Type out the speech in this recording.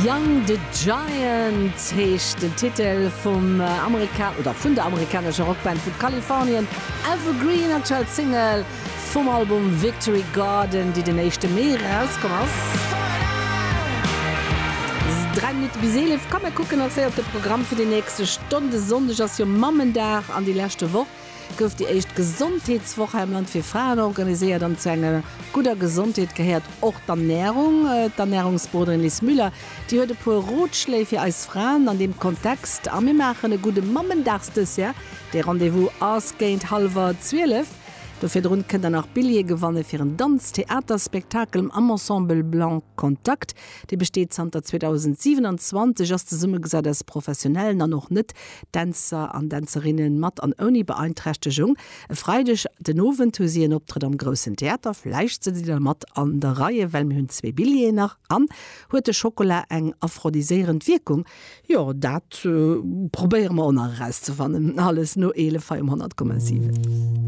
Young the Giant heescht den Titel vum Amerika oder vun der amerikanescher Rockband vu Kalifornien Evergreen, aktuell Single vum Album Victory Garden, déi den éischte Mee erauskomm ass. 3 Minutte bis 11, komm mir kucken nach séier op de Programm fir déi nächste Stonn. De Sonndeg ass jo Mammendag an déi leschte Woch gouf déi éischt Gesondheetswoch hei am Land fir Fraen organiséiert an zu enger gudder Gesondheet gehéiert och d'Ernärung. D'Ernärungsberoderin Liz Müller, déi huet e puer Rotschléi fir eis Fraen an deem Kontext a mir maachen e gudde Mammendagsdessert. Dee Rendez-vous ass géint hallwer 12. Do virdrun kënnt der nach Billjeeë gewanne fir en Danz-Theater-Spektakel am Ensemble Blanc Contact. Dee besteet zanter 2027, ass zesummegesat aus professionellen an och net Dänzer an Dänzerinne mat an ouni Beeinträchtegung. E Freideg den Owend hu si en Optrëtt am Groussen Theater. Vläicht sëtzt Dir da mat an der Reie, well mir hunn zwee Billjeeën nach. An huet de Schokola eng aphrodiséierend Wierkung? Jo, dat probéiere mer och nach erauszefannen. Alles no 11 hei um 100,7.